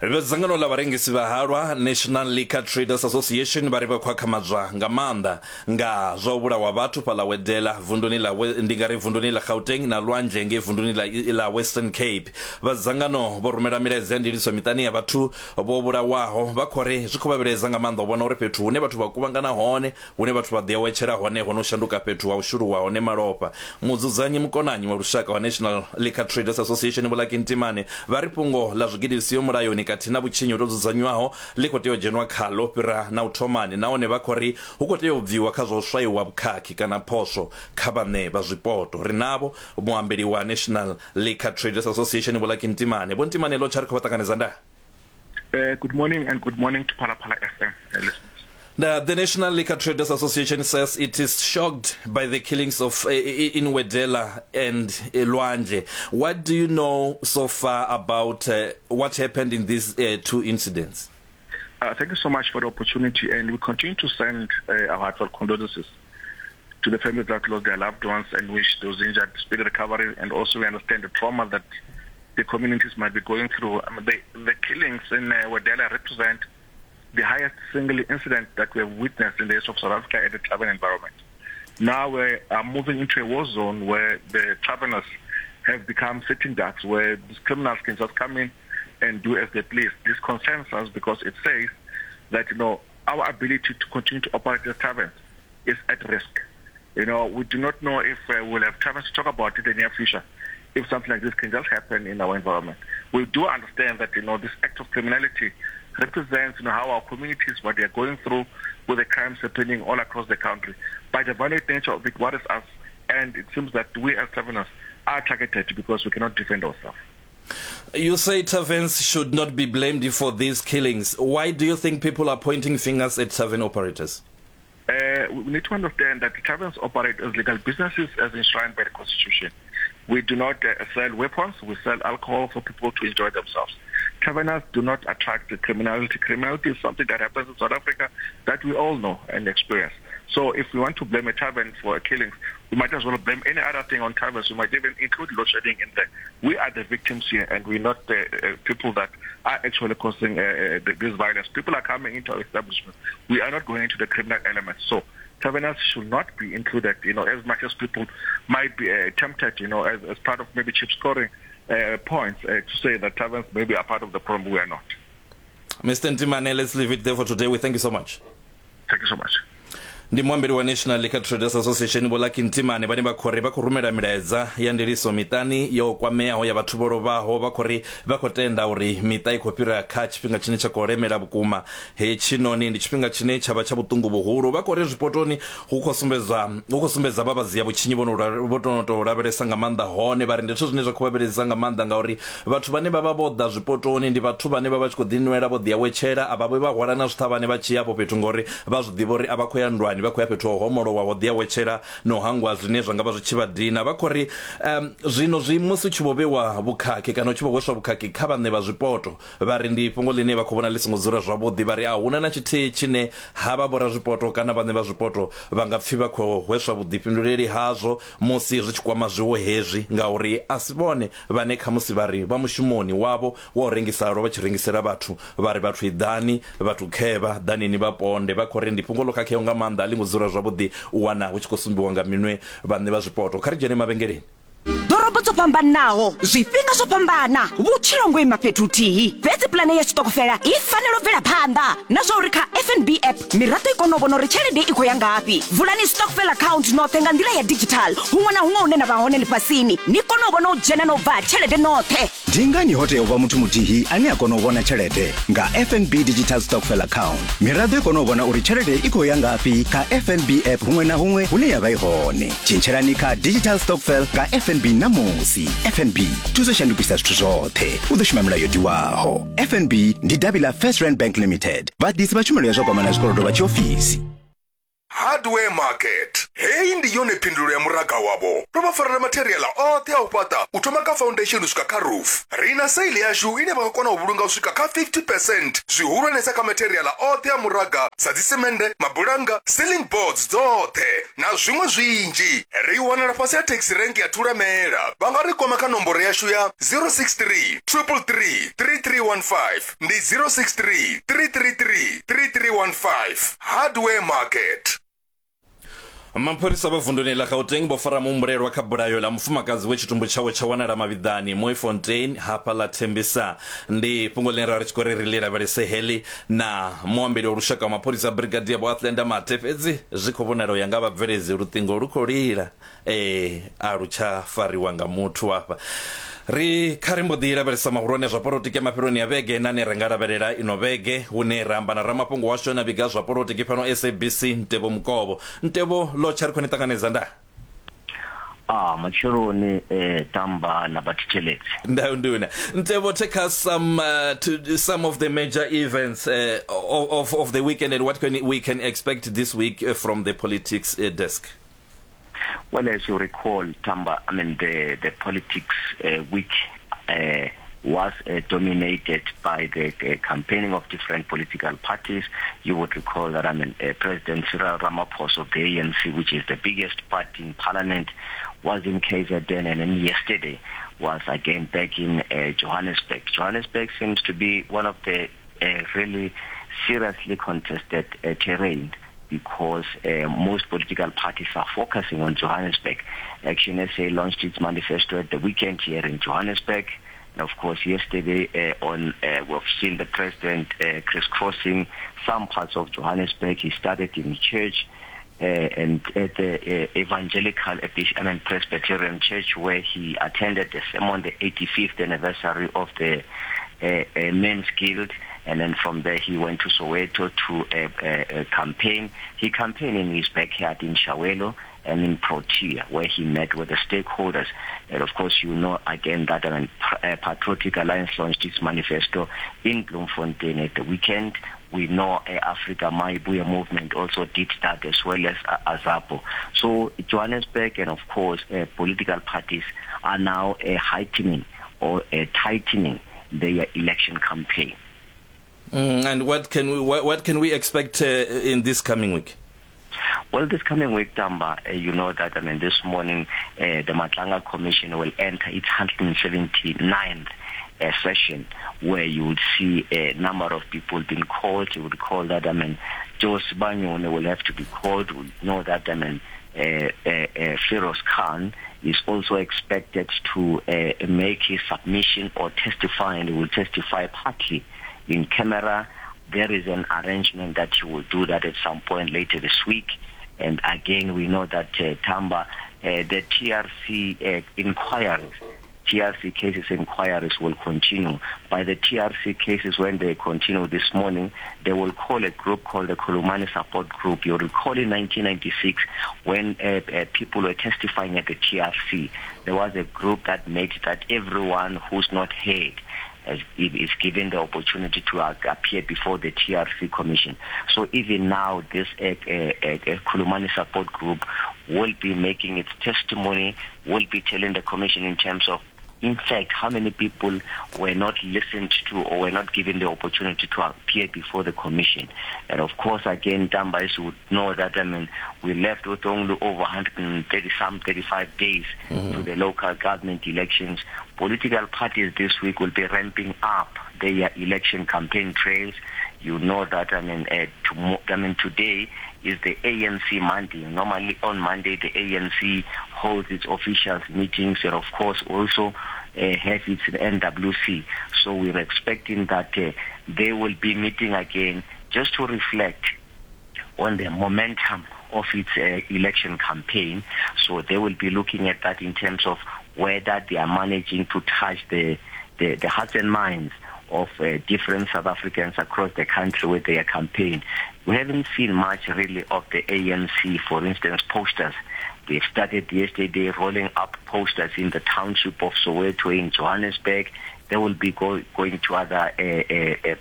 Vha dzangano ḽa vharengisi vha halwa, National Liquor Traders Association, vha ri vha khou akhamadzwa nga maanḓa nga zwa u vhulawa vhathu fhaḽa Wedela vunduni ḽa ndi nga ri vunduni ḽa Gauteng na Lwanzhe ngei vunduni ḽa ḽa Western Cape. Vha dzangano vho rumela milaedza ya ndiliso miṱani ya vhathu vho vhulawaho vha khou ri zwi khou vha vhilaedza nga maanḓa u vhona uri fhethu hune vhathu vha kuvhangana hone hune vhathu vha ḓiawetshela hone ho no shanduka fhethu ha u shuluwa hone malofha. Mudzudzanyi mukonanyi wa lushaka wa National Liquor Traders Association Vho Lucky Ntimane vha ri fhungo ḽa zwigidi zwi siho mulayoni kathihi na vhutshinyi ho tou dzudzanywaho ḽi khou tea u dzhenwa khaḽo u fhira na u thomani nahone vha khou ri hu khou tea u bviwa kha zwa u swaiwa vhukhakhi kana phoswo kha vhaṋe vha zwipoto. Ri navho muambeli wa National Liquor Traders Association Vho Lucky Ntimane. Vho Ntimane lotsha ri khou vha ṱanganedza ndaa. Good morning and good morning to Phalaphala FM listeners. The National Liquor Traders Association says it is shocked by the killings of in Wedela and Lwandle. What do you know so far about what happened in these two incidents? Thank you so much for the opportunity, and we continue to send our heartfelt condolences to the families that lost their loved ones and wish those injured speedy recovery, and also we understand the trauma that the communities might be going through. I mean, the killings in Wedela represent the highest single incident that we have witnessed in the history of South Africa at the tavern environment. Now we are moving into a war zone where the taverners have become sitting ducks, where these criminals can just come in and do as they please. This concerns us because it says that, you know, our ability to continue to operate the taverns is at risk. You know, we do not know if we'll have taverns to talk about in the near future, if something like this can just happen in our environment. We do understand that, you know, this act of criminality represents, you know, how our communities, what they are going through with the crimes happening all across the country. But the violent nature of it worries us, and it seems that we as taverners are targeted because we cannot defend ourselves. You say taverns should not be blamed for these killings. Why do you think people are pointing fingers at tavern operators? We need to understand that the taverns operate as legal businesses as enshrined by the Constitution. We do not sell weapons, we sell alcohol for people to enjoy themselves. Taverners do not attract the criminality. Criminality is something that happens in South Africa that we all know and experience. So if we want to blame a tavern for killings, we might as well blame any other thing on taverns. We might even include load shedding in there. We are the victims here, and we're not the people that are actually causing this violence. People are coming into our establishment. We are not going into the criminal element. So taverners should not be included, you know, as much as people might be tempted, you know, as part of maybe cheap scoring points to say that taverns maybe are part of the problem. We are not. Mr. Ntimane, let's leave it there for today. We thank you so much. Thank you so much. Ndi muambeli wa National Liquor Traders Association Vho Lucky Ntimane vhane vha khou ri vha khou rumela milaedza ya ndiliso miṱani yo kwameaho ya vhathu vho lovhaho. Vha khou ri vha khou tenda uri miṱa i khou fhira kha tshifhinga tshine tsha khou lemela vhukuma. Hetshinoni ndi tshifhinga tshine tsha vha tsha vhuṱungu vhuhulu. Vha khou ri zwipotoni hu khou sumbedzwa hu khou sumbedza vha vhadzia vhutshinyi vho no vho no tou lavhelesa nga maanḓa hone. Vha ri ndi zwithu zwine zwa khou vha vhilaedzisa nga maanḓa ngauri vhathu vhane vha vha vho ḓa zwipotoni ndi vhathu vhane vha vha tshi khou ḓinwela vho ḓiawetshela, a vha vhi vha hwala na zwiṱhavhane vha tshi ya afho fhethu ngauri vha zwi ḓivha uri a vha khou ya nndwani, vha khou ya fhethu ho homolowa ho ḓiawetshela na u hangwa zwine zwa nga vha zwi tshi vha dina. Vha khou ri zwino zwi musi hu tshi vho vhewa vhukhakhi kana hu tshi vho hweswa vhukhakhi kha vhaṋe vha zwipoto, vha ri ndi fhungo ḽine vha khou vhona ḽi songo dzula zwavhuḓi. Vha ri a huna na tshithihi tshine havha vhorazwipoto kana vhaṋe vha zwipoto vha nga pfi vha khou hweswa vhuḓifhinduleli hazwo musi zwi tshi kwama zwiwo hezwi ngauri a si vhone vhane khamusi vha ri vha mushumoni wavho wa u rengisa halwa vha tshi rengisela vhathu, vha ri vhathu iḓani, vhathu khevha, ḓani ni vha ponde. Vha khou ri ndi fhungo ḽo khakheaho nga maanḓa, a ḽi ngo dzula zwavhuḓi u wana hu tshi khou sumbiwa nga minwe vhaṋe vha zwipoto. Kha ri dzhene mavhengeleni. Ḓorobo dzo fhambanaho, zwifhinga zwo fhambana, vhutshilo ngo ima fhethu huthihi. Fhedzi pulane ya tshiṱokofela i fanela u bvela phanḓa na zwa uri kha FNB app miraḓo i kone u vhona uri tshelede i khou ya ngafhi. Vulani stokvel account noṱhe nga nḓila ya digital huṅwe na huṅwe hune na vha hone ḽifhasini, ni kone u vhona u dzhena na u bva ha tshelede noṱhe. Ndi ngani ho tea u vha muthu muthihi ane a kona u vhona tshelede? Nga FNB Digital Stokvel Account, miraḓo i kona u vhona uri tshelede i khou ya ngafhi kha FNB app huṅwe na huṅwe hune ya vha i hone. Tshintshelani kha Digital Stokvel nga FNB ṋamusi. FNB, thuso shandukisa zwithu zwoṱhe. U ḓo shuma milayo yo tiwaho. FNB ndi davhi ḽa First Rand Bank Limited. Vhaḓisi vha tshumelo ya zwa kwamana zwikolodo vha tshiofisi. Hardware Market. Heyi ndi yone phindulo ya muraga wavho. Ro vha farela matheriaḽa oṱhe a u fhaṱa u thoma kha foundation u swika kha roof. Ri na sale yashu ine vha nga kona u vhulunga u swika kha 50 percent, zwihulwanesa kha matheriaḽa oṱhe a muraga sa dzisemende, mabulannga, ceiling boards dzoṱhe na zwiṅwe zwinzhi. Ri wanala fhasi ha taxi rank ya Thulamela. Vha nga ri kwama kha nomboro yashu ya 063 333 3315. Ndi 063 333 3315. Hardware Market. Mapholisa vha vunduni ḽa Gauteng vho fara muhumbulelwa kha bulayo ḽa mufumakadzi we tshitumbu tshawe tsha wanala mavhiḓani Mooifontein hafha ḽa Thembisa. Ndi fhungo ḽine ra ri tshi khou ri ri ḽi lavhelese heḽi na muambeli wa lushaka wa mapholisa Brigadier Vho Athlenda Mathe, fhedzi zwi khou vhonala u ya nga vhabveledzi luṱingo lu khou lila. Ee, a lu tsha fariwa nga muthu hafha. Ri kha ri mbo ḓi lavhelesa mahulwane a zwa polotiki a mafheloni a vhege na ane ra nga lavhelela ino vhege, hune ra amba na ramafhungo washu ane a vhiga zwa polotiki fhano SABC, Ntebo Mukovho. Ntebo, Lotsha, ri khou ni ṱanganedza ndaa. Ah, matsheloni eh, tamba na vhathetshelesi. Ndau nduna. Ntebo, take us some to some of the major events of the weekend and what can we can expect this week from the politics desk. Well, as you recall, Tamba, I mean, the, the politics week was dominated by the campaigning of different political parties. You would recall that, I mean, President Cyril Ramaphosa of the ANC, which is the biggest party in parliament, was in KZN, and then yesterday was again back in Johannesburg. Johannesburg seems to be one of the really seriously contested terrain, because most political parties are focusing on Johannesburg. Action SA launched its manifesto at the weekend here in Johannesburg. And of course, yesterday we've seen the president crisscrossing some parts of Johannesburg. He started in church and at the Evangelical Presbyterian Church, where he attended the sermon, the 85th anniversary of the Men's Guild. And then from there he went to Soweto to campaign. He campaigned in his backyard in Chiawelo and in Protea, where he met with the stakeholders. And of course, you know again that Patriotic Alliance launched its manifesto in Bloemfontein at the weekend. We know Africa Mayibuye movement also did that, as well as AZAPO. So Johannesburg and of course political parties are now heightening or tightening their election campaign. And what can we expect in this coming week? Well, this coming week, Tamba, you know that, I mean, this morning, the Madlanga Commission will enter its 179th session, where you would see a number of people being called. You would call that, I mean, Joe Sibanyoni will have to be called. We know that, I mean, Feroz Khan is also expected to make his submission or testify, and he will testify partly in camera. There is an arrangement that he will do that at some point later this week. And again, we know that Tamba, the TRC inquiries, TRC cases inquiries will continue. By the TRC cases, when they continue this morning, they will call a group called the Khulumani Support Group. You'll recall in 1996 when people were testifying at the TRC, there was a group that made that everyone who's not heard is given the opportunity to appear before the TRC Commission. So even now, this Khulumani Support Group will be making its testimony, will be telling the Commission in terms of, in fact, how many people were not listened to or were not given the opportunity to appear before the Commission. And of course, again, Tamba, you would know that, I mean, we left with only over 130 some 35 days to the local government elections. Political parties this week will be ramping up their election campaign trails. You know that, I mean, today is the ANC Monday. Normally on Monday, the ANC holds its officials meetings and, of course, also has its NWC. So we're expecting that they will be meeting again just to reflect on the momentum of its election campaign. So they will be looking at that in terms of whether they are managing to touch the hearts and minds of different South Africans across the country with their campaign. We haven't seen much really of the ANC, for instance, posters. They started yesterday rolling up posters in the township of Soweto in Johannesburg. They will be going to other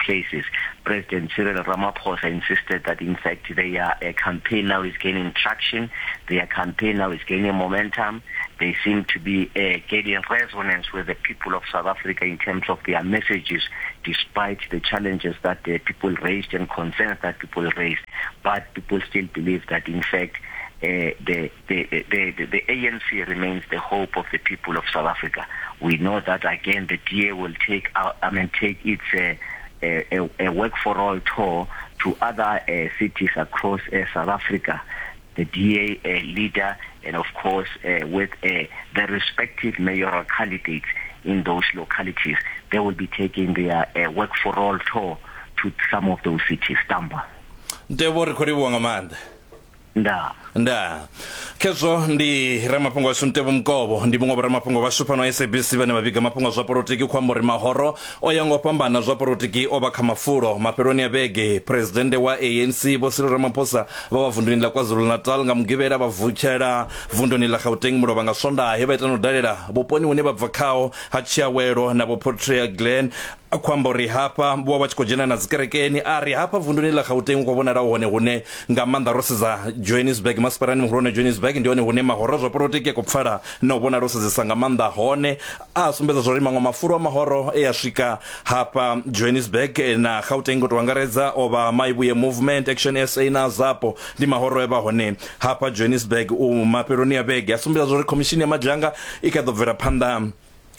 places. President Cyril Ramaphosa insisted that, in fact, their campaign now is gaining traction, their campaign now is gaining momentum. They seem to be uh, gaining resonance with the people of South Africa in terms of their messages, despite the challenges that the people raised and concerns that people raised. But people still believe that, in fact, uh, the, the, the, the, the ANC remains the hope of the people of South Africa. We know that, again, the DA will take, out, I mean, take its uh, a, a work for all tour to other uh, cities across uh, South Africa. The DA uh, leader and, of course, uh, with uh, the respective mayoral candidates in those localities, they will be taking their uh, work for all tour to some of those cities. Tamba. Ntevho ri khou livhuwa nga maanḓa. Ndaa. Ndaa. Khezwo ndi ramafhungo washu Ntevho Mukovho, ndi muṅwe vhoramafhungo vhashu fhano SABC vhane vha vhiga mafhungo a zwa polotiki. Khou amba uri mahoro o ya nga u fhambana zwa polotiki o vha kha mafulo mafheloni a vhege. Phresidennde wa ANC Vho Cyril Ramaphosa vha vha vunduni ḽa KwaZulu-Natal nga Mugivhela, vha vutshela vunduni ḽa Gauteng mulovha nga Swondaha he vha ita na u dalela vhuponi hune vha bva khaho ha Tshiawelo na Vho Portia Glen. A khou amba uri hafha vho vha vha tshi khou dzhena na dzikerekeni. A ri hafha vunduni ḽa Gauteng hu khou vhonala hu hone hune nga maanḓa ro sedza Johannesburg, masipalani muhulwane Johannesburg ndi hone hune mahoro a zwa polotiki a khou pfala na u vhonala o sedzesa nga maanḓa hone. A sumbedza zwa uri maṅwe mafulo a mahoro e a swika hafha Johannesburg na Gauteng u tou angaredza o vha Maivhuye Movement, Action SA na Azapo ndi mahoro e vha hone hafha Johannesburg u mafheloni a vhege. A sumbedza zwa uri khomishini ya madzhanga i kha ḓo bvela phanḓa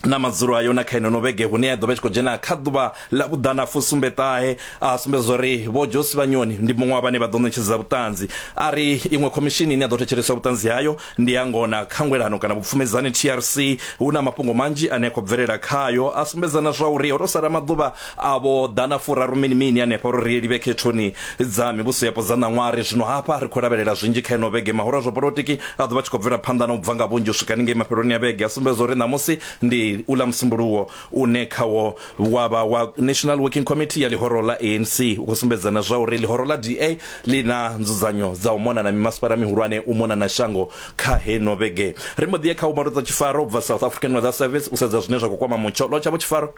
na madzulo ayo na kha ino vhege hune ya ḓo vha i tshi khou dzhena kha ḓuvha ḽa vhuḓana fusumbe ṱahe. A sumbedza uri Vho Josi Vhanyoni ndi muṅwe wa vhane vha ḓo ṋetshedza vhuṱanzi. A ri iṅwe khomishini ine ya ḓo thetsheleswa vhuṱanzi hayo ndi ya ngona khangwelano kana vhupfumedzani TRC. Hu na mafhungo manzhi ane a khou bvelela khayo a sumbedza na zwa uri ho tou sala maḓuvha a vho ḓana furaru mini mini hanefha uri ri livhe khethoni dza mivhuso yapo dza ṋaṅwari. Zwino hafha ri khou lavhelela zwinzhi kha ino vhege. Mahoro a zwa polotiki a ḓo vha tshi khou bvela phanḓa na u bva nga vhunzhi u swika haningei mafheloni a vhege. A sumbedza uri ṋamusi ndi uḽa Musumbuluwo une khawo wa vha wa National Working Committee ya ḽihoro ḽa ANC. U khou sumbedza na zwa uri ḽihoro ḽa DA ḽi na nzudzanyo dza u mona na mimasipala mihulwane u mona na shango kha heino vhege. Ri mbo ḓi ya kha u Maludza Tshifaro u bva South African Weather Service u sedza zwine zwa khou kwama mutsho. Lotsha Vho Tshifaro.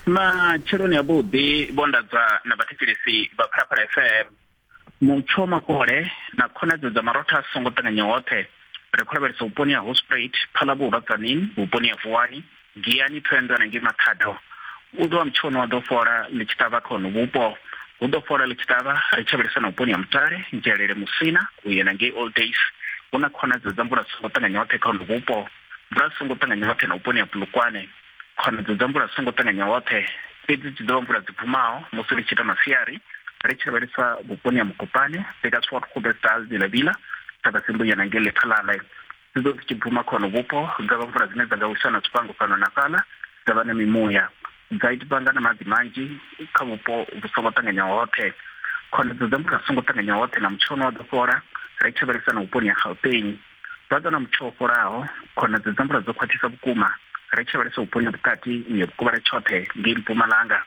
Matsheloni avhuḓi vho Ndadza na vhathetshelesi vha Phalaphala FM. Mutsho makole na khonadzeo dza marotha a songo ṱanganya hoṱhe. Ri khou lavhelesa vhuponi ha Hospruit, Phalabulwa, Tzaneen, vhuponi ha Vuwani, Giyani, Thohoyandou na ngei Makhado. U ḓo vha mutsho une wa ḓo fhola ḽi tshi ṱavha kha hono vhupo. Hu ḓo fhola ḽi tshi ṱavha ri tshi lavhelesa na vhuponi ha Mutale, Nzhelele, Musina u ya na ngei Old Days. Hu na khonadzeo dza mvula dzi songo ṱanganya hoṱhe kha hono vhupo. Mvula dzi songo ṱanganya hoṱhe na vhuponi ha Polokwane. Khonadzeo dza mvula dzi songo ṱanganya hoṱhe, fhedzi dzi ḓo vha mvula dzi bvumaho musi ri tshi ita masiari, ri tshi lavhelesa vhuponi ha Mokopane, Burgersfort, Groblersdal, Vilavila, Thabazimbi u ya na ngei Lephalale. Dzi ḓo dzi tshi bvuma kha hono vhupo, dza vha mvula dzine dza nga wisa na zwifhango fhano na fhaḽa, dza vha na mimuya, dza vhanga na maḓi manzhi kha vhupo vhu songo ṱanganyaho hoṱhe. Khonadzeo dza mvula dzi songo ṱanganyaho hoṱhe na mutsho une wa ḓo fhola, ri tshi lavhelesa na vhuponi ha Gauteng. Vha ḓo na mutsho wo fholaho, khonadzeo dza mvula dzo khwaṱhisa vhukuma ri tshi lavhelesa vhuponi ha vhukati u ya vhukovhela tshoṱhe ngei Mpumalanga.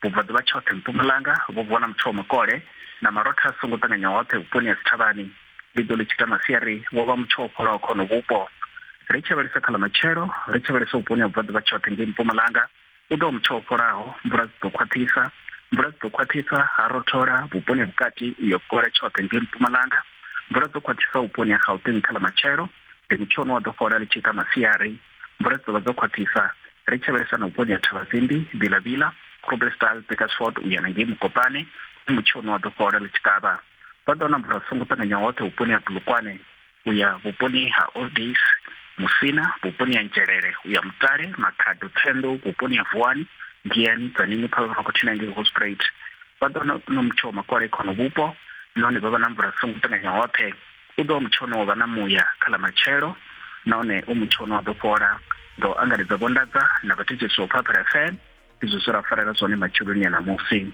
Vhubvaḓuvha tshoṱhe Mpumalanga vho vuwa na mutsho wa makole na marotha a songo ṱanganya hoṱhe vhuponi ha dzithavhani. Ḽi ḓo ḽi tshi ita masiari wo vha mutsho wo fholaho kha hono vhupo. Ri tshi lavhelesa kha ḽa matshelo, ri tshi lavhelesa vhuponi ha vhubvaḓuvha tshoṱhe ngei Mpumalanga, u ḓo vha mutsho wo fholaho, mvula dzi ḓo khwaṱhisa. Mvula dzi ḓo khwaṱhisa, ha rothola vhuponi ha vhukati u ya vhukovhela tshoṱhe ngei Mpumalanga. Mvula dzo khwaṱhisa vhuponi ha Gauteng kha ḽa matshelo, ndi mutsho une wa ḓo fhola ḽi tshi ita masiari. Mvula dzi ḓo vha dzo khwaṱhisa ri tshi lavhelesa na vhuponi ha Thavhazimbi, Vilavila, Groblersdal, Burgersfort u ya na ngei Mokopane, ndi mutsho une wa ḓo fhola ḽi tshi kavha. Vha ḓo wana mvula dzi songo ṱanganya hoṱhe vhuponi ha Polokwane u ya vhuponi ha Old Days, Musina, vhuponi ha Nzhelele u ya Mutale, Makhado, Thohoyandou, vhuponi ha Vuwani, Giyani, Tzaneen, Phalaphala na ngei Hoedspruit. Vha ḓo wana na mutsho wa makole kha hono vhupo nahone vha vha na mvula dzi songo ṱanganya hoṱhe. U ḓo vha mutsho une wa vha na muya kha ḽa matshelo nahone u mutsho une wa ḓo fhola. Nga u angaredza Vho Ndadza na vhathetshelesi vha Phalaphala FM, izwo zwe ra farela zwone matsheloni a ṋamusi.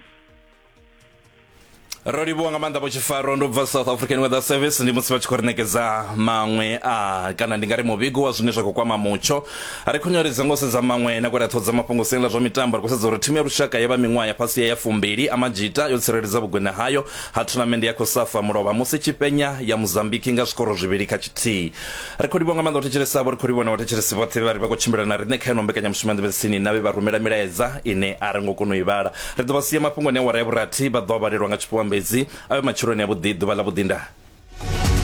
Ro livhuwa nga maanḓa Vho Tshifaro. Ndo bva South African Weather Service, ndi musi vha tshi khou ri ṋekedza maṅwe a kana ndi nga ri muvhigo wa zwine zwa khou kwama mutsho. Ri khunyeledza ngo sedza maṅwe na kwera ṱhoho dza mafhungo siani ḽa zwa mitambo. Ri khou sedza uri thimu ya lushaka ya vha miṅwaha ya fhasi ya ya fumbili Amajita yo tsireledza vhugwena hayo ha thunamennde ya COSAFA mulovha musi tshi fhenya ya Mozambique nga zwikoro zwivhili kha tshithihi. Ri khou livhuwa nga maanḓa u thetshelesa avho, ri khou livhuwa na vhathetshelesi vhoṱhe vhe vha ri vha khou tshimbila na riṋe kha ino mbekanyamushumo ya Nḓevhe Tsini na vhe vha rumela milaedza ine a ri ngo kona u i vhala. Ri ḓo vha sia mafhungoni a awara ya vhurathi, vha ḓo a vhalelwa nga tshifhiwa Mbedzi. A vhe matsheloni avhuḓi, ḓuvha ḽavhuḓi ndaa.